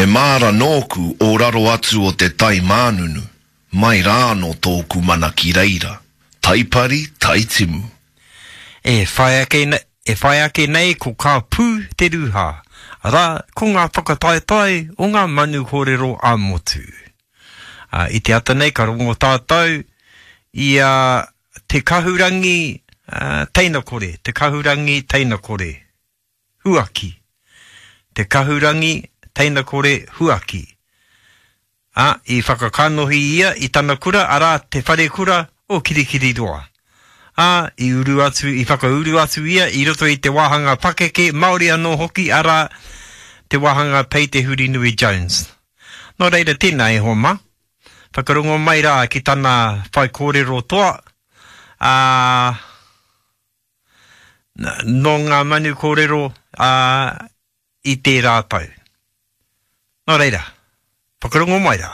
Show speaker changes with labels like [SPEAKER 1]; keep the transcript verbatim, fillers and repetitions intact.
[SPEAKER 1] He māra nōku o raro atu o te tai mānunu, mai rā anō tōku mana ki reira, taipari, taitimu.
[SPEAKER 2] E whai ake, e whai ake nei ko Ka Pū te Rūhā, arā, ko ngā whakataetae o ngā manu kōrero ā-motu. Ā, i te ata nei ka rongo tātou i a Te Kahurangi uh, Teinakore, Te Kahurangi Teinakore, Huaki. Te Kahurangi Teinakore Huaki. Ā, i whakakanohi ia i tana kura, arā, Te Wharekura o Kirikiriroa. Ā, i uru atu, i whakauru atu ia i roto i te wāhanga pakeke Māori anō hoki, arā, te wāhanga Pei Te Hurinui Jones. Nō reira, tēnā e hoa mā. Whakarongo mai rā ki tana whaikōrero toa, ā, nō ngā manu kōrero, ā, i tērā tau. Nō reira, whakarongo mai rā.